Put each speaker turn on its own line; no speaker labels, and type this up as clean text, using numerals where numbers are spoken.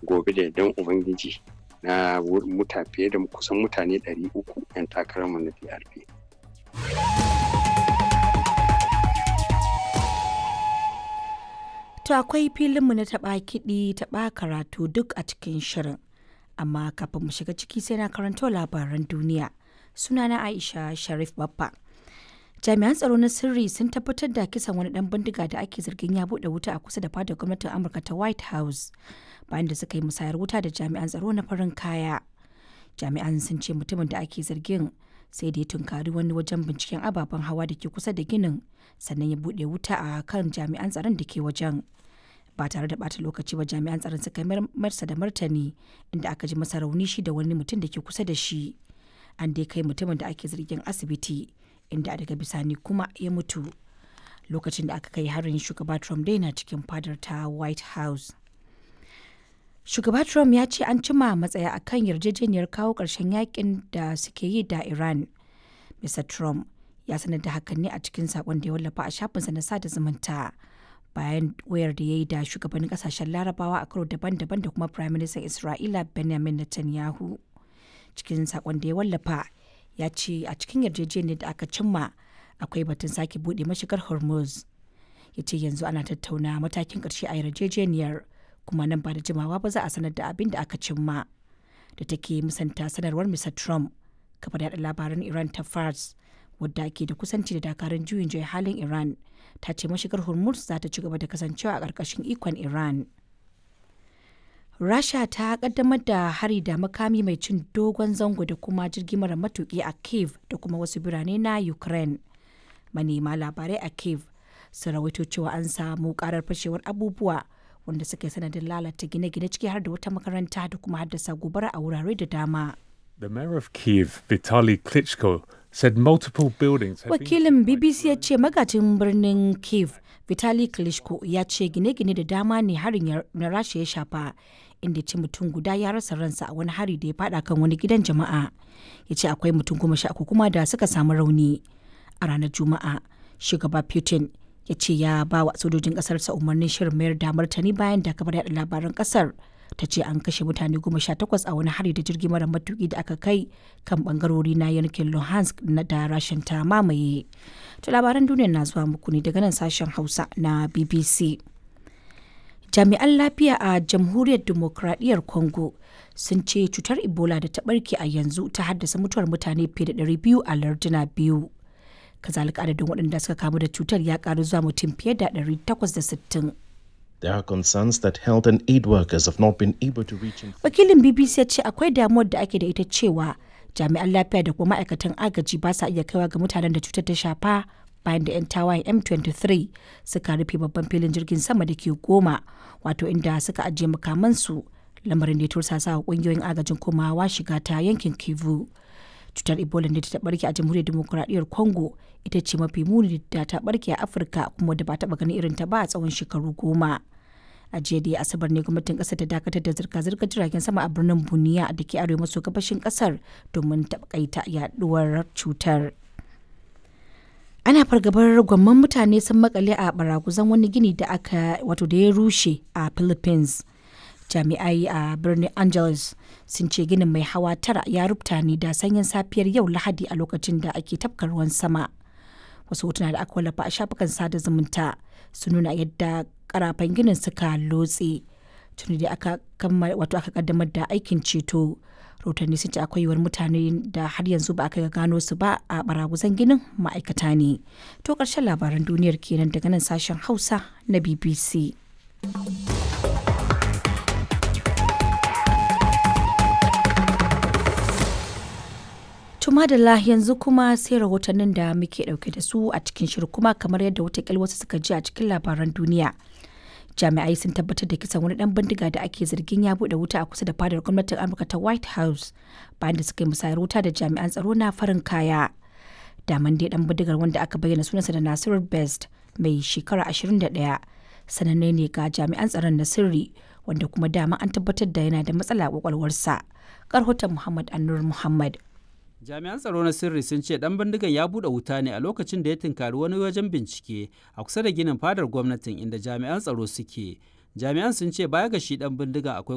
Gobe da yardan Ubangiji na muta fiye da kusan mutane 300 'yan takararmu na PRP.
To akwai filinmu na taɓa kiɗi taɓa karatu duk a cikin shirin. Amma kafin mu shiga ciki sai na karanto labaran duniya. Sunana Aisha Sharif Baffa. Jami'an tsaro na sirri sun tabbatar da kisan wani dan bindiga da ake zargin ya bude wuta a kusa da fadar gwamnatin Amurka ta White House bayan da suka yi musayar wuta da jami'an tsaro na farin kaya. Jami'an sun ce mutumin da ake zargin sai da ya tunkari wani wajen binciken ababen hawa da ke kusa da ginin, sannan ya bude wuta a kan jami'an tsaron da ke wajen. Ba tare da bata lokaci ba jami'an tsaron suka marsa da martani, inda aka ji masa rauni shi da wani mutum da ke kusa da shi. An dai kai mutumin da ake zargin asibiti, inda daga bisani kuma ya mutu. Lokacin da aka kai harin, shugaba Trump dai na cikin fadar ta White House. Shugaba Trump ya ce an cima matsaya akan yarjejeniyar kawo ƙarshen yakin da suke yi da Iran. Mr. Trump ya sanar da hakan ne a cikin sakon da ya wallafa a shafinsa na sada zumunta bayan wayar da ya yi da shugabannin kasashen Larabawa a karo daban-daban da kuma Prime Minister Isra'ila Benjamin Netanyahu. Cikin sakon da ya wallafa, ya ce a cikin yarjejeniyar da aka cimma akwai batun sake buɗe mashigar Hormuz. Ya ce yanzu ana tattauna matakin ƙarshe a yarjejeniyar, kuma nan ba da jimawa ba za a sanar da abin da aka cimma. Da take musanta sanarwar Mr. Trump, kafar yaɗa labaran Iran ta Fars, wadda ke da kusanci da dakarun juyin juya halin Iran, ta ce mashigar Hormuz za ta ci gaba da kasancewa a ƙarƙashin ikon Iran. Rasha ta kaddamar da hari da makami mai cin dogon zango da kuma jirgi mara matuki a Kiev da kuma wasu birane na Ukraine. Manema labarai a Kiev sun rawaito cewa an samu karar fashewar abubuwa wanda suka yi sanadin lalata gine-gine, ciki har da wata makaranta, da kuma haddasa gobara a wurare da dama.
The mayor of Kiev, Vitaly Klitschko, said multiple buildings had been
Wakilin BBC ya ce magajin birnin Kiev, Vitali Klitschko, ya ce gine-gine da dama ne harin na Rasha ya shafa, inda ce mutum guda ya rasa ransa a wani hari da ya fada kan wani gidan jama'a. Ya ce akwai mutum 13 kuma da suka samu rauni. A ranar Juma'a, shugaba Putin ya ce ya ba wa sojojin kasarsa umarnin shirin mayar da martani bayan da kafar yada labaran kasar ta ce an kashe mutane 18 a wani hari da jirgi mara matuki da aka kai kan bangarori na yankin Luhansk na da Rashin ta mamaye. To labaran duniya na zuwa muku ne daga nan sashen Hausa na BBC. Jami'an lafiya a Jamhuriyar Demokradiyyar Congo sun ce cutar Ebola da ta barke a yanzu ta haddasa mutuwar mutane fiye da 200 a larduna biyu. Kazalika adadin waɗanda suka kamu da cutar ya karu zuwa mutum fiye da 860.
There are concerns that health and aid workers have not been able to reach.
Wakilin BBC ya ce akwai damuwar da ake da ita cewa jami'an lafiya da kuma ma'aikatan agaji ba sa iya kaiwa ga mutanen da cutar ta shafa bayan da 'yan tawayen M23 suka rufe babban filin jirgin sama da ke Goma, wato inda suka ajiye makamansu, lamarin da ya tursasa wa kungiyoyin agajin komawa shiga ta yankin Kivu. Cutar Ebola da ta barke a Jamhuriyar Demokuraɗiyyar Congo ita ce mafi muni da ta barke a Afirka kuma da ba taɓa ganin irin ta ba a tsawon shekaru 10. A jiya da Asabar ne gwamnatin kasar ta dakatar da zirga-zirgar jiragen sama a birnin Buniya da ke arewa maso gabashin kasar domin takaita yaduwar cutar. Ana fargabar gwamman mutane sun makale a baraguzan wani gini da aka wato da ya rushe a Philippines. Jami'ai a birnin Angeles sun ce ginin mai hawa tara ya rubuta ne da sanyin safiyar yau Lahadi a lokacin da ake tafka ruwan sama. Wasu hotuna da aka wallafa a shafukan sada zumunta sun nuna yadda karafan ginin suka lotse. Tuni da aka kammala, wato aka kaddamar da aikin ceto. Rahotanni sun ce akwai yiwuwar mutane da har yanzu ba aka gano su ba a baraguzan ginin ma'aikata ne. To karshen labaran duniyar kenan daga nan sashen Hausa na BBC. Tumadala, yanzu kuma sai rahotannin da muke dauke da su a cikin shirin. Kuma kamar yadda watakil wasu suka ji a cikin labaran duniya, jami'ai sun tabbatar da kisan wani dan bindiga da ake zargin ya bude wuta a kusa da fadar gwamnatin Amurka ta White House bayan da suka yi musayar wuta da jami'an tsaro na farin kaya. Daman dai dan bindigar, wanda aka bayyana sunansa da Nasiru Best, mai shekara 21, sananne ne ga jami'an tsaron na sirri, wanda kuma dama an tabbatar da yana da matsala a kwakwalwarsa. Karhoton Muhammad Annur Muhammad.
Jami'an tsaro na sirri sun ce dan bindigan ya buɗe wuta ne a lokacin da ya tunkari wani wajen bincike a kusa da ginin fadar gwamnatin inda jami'an tsaro suke. Jami'an sun ce baya ga shi dan bindigan akwai